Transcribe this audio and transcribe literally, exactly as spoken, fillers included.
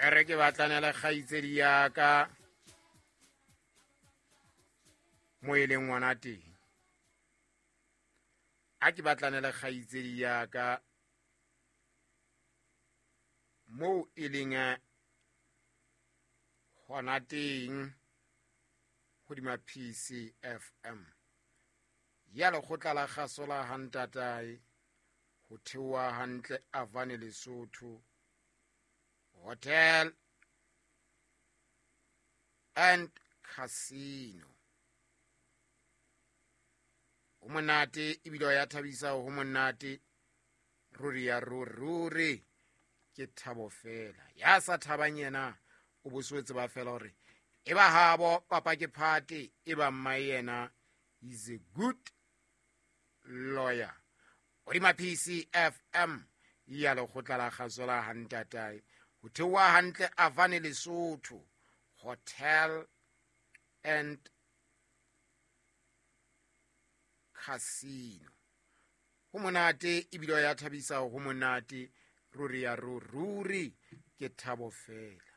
E re ke batlane le kgaitsedi ya ka mo e leng ngwana teng. A ke batlane le kgaitsedi ya ka moo e leng hona teng hodima P C F M ya lekgotla la kgaso la ha ntatae ho theoha hantle Avane Lesotho Hotel and Casino. Ho monate ebile ya thabisa, ho monate ruri ya ruri ke thabo fela. Ya sa thabang yena o boswetse ba fela hore e ba habo papa ke phate, e ba mma yena is a good lawyer. Hodima P C F M ya lekgotla la kgaso la ha ntatae ho theoha hantle Avane Lesotho Hotel and Casino. Ho monate ebile ya thabisa, ho monate ruri ya ruri ke thabo fela.